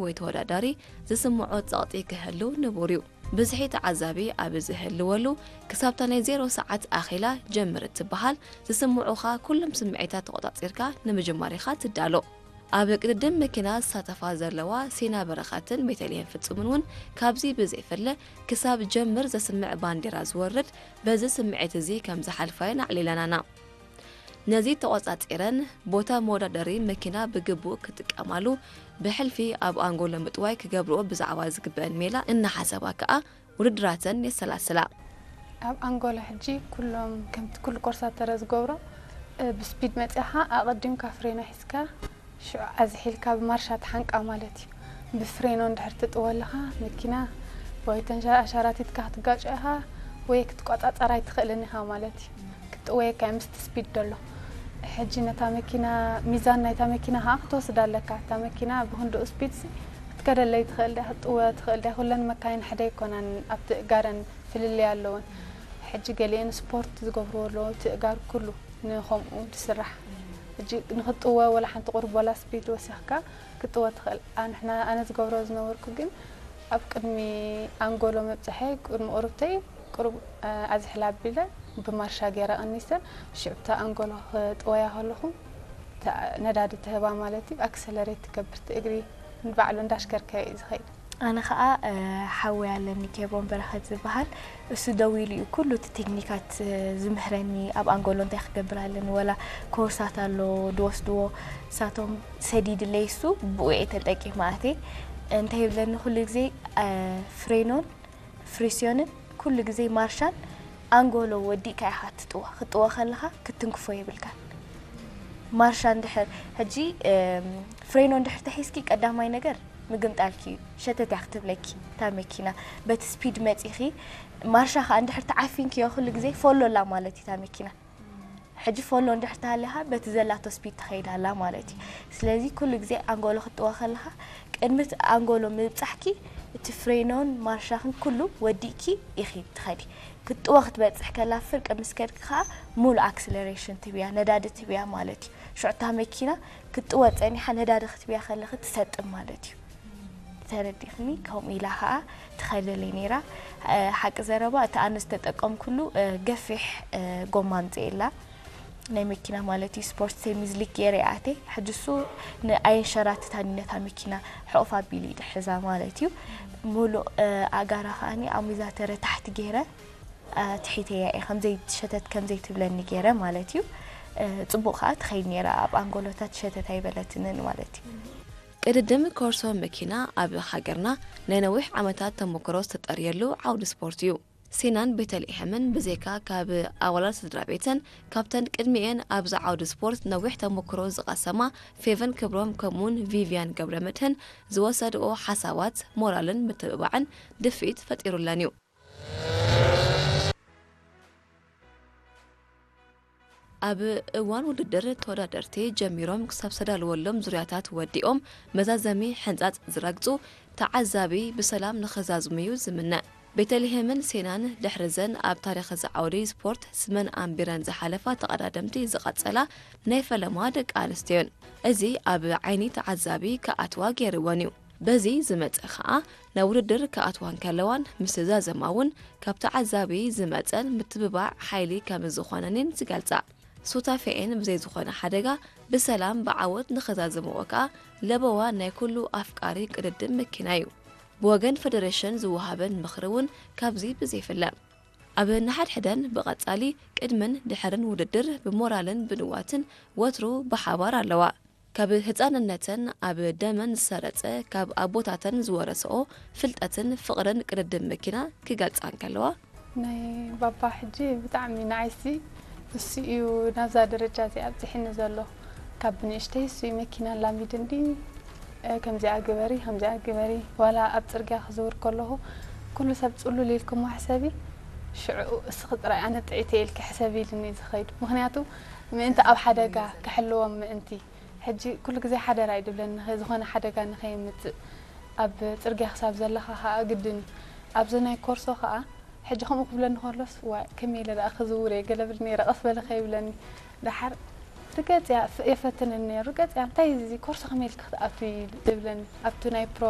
ወይ ተወዳዳሪ ዝስምዖ ጸቕጢ ክህሉ ንቡር እዩ። ብዝሒ ተዓዛቢ ኣብ ዝህልወሉ፣ ክሳብታ ናይ ዜሮ ሰዓት ኣኺላ ጀምር እትበሃል፣ ዝስምዑኻ ኩሎም ስምዒታት ተቖጻጺርካ ንምጅማር ኢኻ ትዳሎ። ኣብ ቅድድም መኪና ዝሳተፋ ዘለዋ ሲና በረኸትን ቤተልሔም ፍጹምን እውን ካብዚ ብዘይፍለ፣ ክሳብ ጀምር ዘስምዕ ባንዴራ ዝወርድ፣ በዚ ስምዒት እዚ ከም ዝሓልፋ እየን ኣዕሊለናና። ነዚ ተቖጻጺረን፣ ቦታ መወዳደሪ መኪና ብግቡእ ክጥቀማሉ፣ ብሕልፊ ኣብ ኣንጎሎ ምጥዋይ ክገብርኦ ብዛዕባ ዝግበአን ሜላ እናሓሰባ ከኣ ውድድራተን የሰላስላ። ኣብ ኣንጎሎ ሕጂ ኩሎም ከምቲ ኩሉ ኮርሳተረ ዝገብሮ፣ እ፣ ብስፒድ መጺኻ ኣቐዲምካ ፍሬና ሒዝካ ሽዑ ኣዝሒልካ ብማርሻ ትሓንቃ ማለት እዩ። ብፍሬኖ እንድሕር ትጥወ ኣለኻ መኪና ወይ ተንሻ-፣ ኣሻራቲትካ ክትጋጮ ኢኻ ወይ ክትቆጻጸራ ኣይትኽእልን ኢኻ ማለት እዩ። ክትጥወየካ እዩ ምስቲ ስፒድ ደሎ። ሕጂ ነታ መኪና፣ ሚዛን ናይታ መኪና ከኣ ክትወስድ ኣለካ። እታ መኪና ብክንድኡ ስፒድ ሲ ክትከደለይ ትኽእል ድያ፣ ክትጥወ ትኽእል ድያ። ኩለን መካይን ሓደ ኣይኮናን፣ ኣብቲ እጋረን ፍልልይ ኣለወን። ሕጂ ገሊአን ስፖርት ዝገብርዎ ኣለዎ፣ እቲ እጋር ኩሉ ንኸምኡ ዝስራሕ። ሕጂ ንኽጥወ ወላ ሓንቲ ቁሩብ ወላ ስፒድ ወሲኽካ ክትጥወ ትኽእል። ኣንሕና፣ ኣነ ዝገብሮ ዝነበርኩ ግን ኣብ ቅድሚ ኣንጎሎ ምብጻሐይ፣ ቅድሚ ቁሩብተይ፣ ቁሩብ፣ እ፣ ኣዝሕላ ኣቢለ ብማርሻ ገይረ ቀኒሰ፣ ሽዑ እታ ኣንጎሎ ክጥወያ ከለኹ፣ እታ ነዳዲ ትህባ ማለት እዩ፣ ኣክሰለሬት ትገብር፣ እቲ እግሪ ንባዕሉ እንዳሽከርከረ እዩ ዝኸይድ። ኣነ ኸኣ፣ እ፣ ሓወይ ኣለኒ፣ ኬብሮን በረኸት ዝበሃል። እሱ ደው ኢሉ እዩ ኩሉ እቲ ቴክኒካት፣ እ፣ ዝምህረኒ፣ ኣብ ኣንጎሎ እንታይ ክገብር ኣለኒ፣ ወላ ኮርሳት ኣሎ ድወስድዎ፣ ንሳቶም ሰዲድለይ፣ እሱ ብኡ እየ ተጠቂመ ኣትየ። እንታይ ይብለኒ ኩሉ ግዜ፣ እ፣ ፍሬኖን ፍሪስዮንን ኩሉ ግዜ ማርሻን ኣንጎሎ ወዲእካ ኢኻ ትጥወ። ክትጥወ ከለኻ ክትትንክፎ የብልካን። ማርሻ እንድሕር፣ ሕጂ፣ እም፣ ፍሬኖ እንድሕር ተሒዝኪ፣ ቀዳማይ ነገር ምግምጣልኪ እዩ። ሸተት እያ ክትብለኪ እታ መኪና። በቲ ስፒድ መጺኺ፣ ማርሻ ኸኣ እንድሕር ተዓፊንክዮ፣ ኩሉ ግዜ ፎሎ ኣላ ማለት እዩ እታ መኪና። ሕጂ ፎሎ እንድሕር ተሃልያ ኸኣ በቲ ዘላቶ ስፒድ ትኸይድ ኣላ ማለት እዩ። ስለዚ ኩሉ ግዜ ኣንጎሎ ክትጥወ ከለኻ፣ ቅድሚ እቲ ኣንጎሎ ምብጻሕኪ፣ እቲ ፍሬኖን ማርሻኽን ኩሉ ወዲእኪ ኢኺ ትኸዲ። ክትጥወ ክትበጽሕ ከላ፣ ፍርቂ ምስ ከድኪ ኸኣ፣ ሙሉእ ኣክስለሬሽን ትብያ፣ ነዳዲ ትብያ ማለት እዩ። ሽዑ እታ መኪና ክትጥወ ጸኒሓ፣ ነዳዲ ክትብያ ከለኺ ትሰጥም ማለት እዩ። ተረዲእክኒ? ከምኡ ኢላ ኸኣ ትኸደለይ ነይራ። እ፣ ሓቂ ዘረባ፣ እቲ ኣነ ዝተጠቀምኩሉ፣ እ፣ ገፊሕ፣ እ፣ ጎማ ኣምጽኤላ። ናይ መኪና ማለት እዩ። ስፖርት ሴሚ ስሊክ ገይረ እየ ኣትየ። ሕጂ እሱ ን-፣ ኣየንሸራትታን እዩ፣ ነታ መኪና ሕቑፍ ኣቢሉ እዩ ዝሕዛ ማለት እዩ። ሙሉእ፣ እ፣ ኣእጋራ ከኣኒ ኣሚዛተረ ታሕቲ ገይረ፣ እ፣ ትሒተያ እየ፣ ከም ዘይትሸተት፣ ከም ዘይትብለኒ ገይረ ማለት እዩ። እ፣ ጽቡቕ ከኣ ትኸይድ ነይራ፣ ኣብ ኣንጎሎታት ሸተት ኣይበለትንን ማለት እዩ። ቅድድም ኮርሶ መኪና ኣብ ሃገርና ናይ ነዊሕ ዓመታት ተመክሮ ዝተጠርየሉ ዓውዲ ስፖርት እዩ። ሴናን ቤተልሔምን ብዘይካ ካብ ኣባላት ስድራ ቤተን፣ ካብተን ቅድሚኤን ኣብዚ ዓውዲ ስፖርት ነዊሕ ተመክሮ ዝቐሰማ ፌቨን ክብሮም ከምኡውን ቪቪያን ገብረመድህን ዝወሰድኦ ሓሳባት ሞራልን ምትብባዕን ድፍኢት ፈጢሩለን እዩ። ኣብ እዋን ውድድር ተወዳደርቲ ጀሚሮም ክሳብ ዝተዳለወሎም ዙርያታት ወዲኦም መዛዘሚ ሕንጻጽ ዝረግጹ ተዓዛቢ ብሰላም ንኽዛዝሙ እዩ ዝምነ። ቤተልሔምን ሴናን ድሕሪ ዘን ኣብ ታሪኽ እዚ ዓውዲ ስፖርት ስመን ኣንቢረን ዝሓለፋ ተቐዳደምቲ ዝቐጸላ ናይ ፈለማ ደቂ ኣንስትዮን። እዚ ኣብ ዓይኒ ተዓዛቢ ክኣትዋ ገይርወን እዩ። በዚ ዝመጸ ኸኣ ናብ ውድድር ክኣትዋ እንከለዋን ምስ ዛዘማ እውን ካብ ተዓዛቢ ዝመጸን ምትብባዕ ሓይሊ ከም ዝኾነን እየን ዝገልጻ። ሱታፌኤን ብዘይ ዝኾነ ሓደጋ ብሰላም ብዓወት ንኸዛዘምኦ ከኣ ለበዋ ናይ ኩሉ ኣፍቃሪ ቅድድም መኪና እዩ። ብወገን ፈደረሽን ዝወሃበን ምኽሪ እውን ካብዚ ብዘይፍለ። ኣብ ንሓድሕደን ብቐጻሊ ቅድምን ድሕርን ውድድር ብሞራልን ብንዋትን ወትሩ ብሓባር ኣለዋ። ካብ ህጻንነተን ኣብ ደመን ዝሰረጸ፣ ካብ ኣቦታተን ዝወረስኦ ፍልጠትን ፍቕርን ቅድድም መኪና ክገልጻ እንከለዋ፣ ናይ ባባ ሕጂ ብጣዕሚ ንዓይሲ እሱ እዩ ናብዛ ደረጃ እዚ ኣብጽሒኒ ዘሎ። ካብ ብንእሽተይ እሱ እዩ መኪና ኣላሚድኒ፣ እ፣ ከምዚኣ ግበሪ፣ ከምዚኣ ግበሪ። ዋላ ኣብ ጽርግያ ክዝውር ከለኹ፣ ኩሉ ሰብ ጽሉል ኢልክሞ ሕሰቢ፣ ሽዑ እስኺ ጥራይ ኣነ ጥዕይቲ ኢልኪ ሕሰቢ ኢሉኒ እዩ ዝኸይድ። ምኽንያቱ ምእንቲ ኣብ ሓደጋ ክሕልዎም ምእንቲ። ሕጂ ኩሉ ግዜ ሓደራ እዩ ድብለኒ፣ ንኸ-፣ ዝኾነ ሓደጋ ንኸየምጽእ። ኣብ ጽርግያ ክሳብ ዘለኻ ኸኣ ግድን እዩ። ኣብዚ ናይ ኮርሶ ኸኣ ሕጂ ከምኡ ክብለኒ ከሎስ፣ "ዋይ፣ ከመይ ኢለ ደኣ ክዝውር እየ?" ገለ ብል ነይረ፣ "ቀስ በሊ ከይብለኒ?" ደሓር ርገጽ እያ፣ ፍ-፣ የፈትነኒ ነይሩ። ርገጽ እያ፣ "እንታይ እዚ ኮርሶ ከመይ ኢልኪ ክትኣትዊ?" ይብለኒ። ኣብቲ ናይ ፕሮ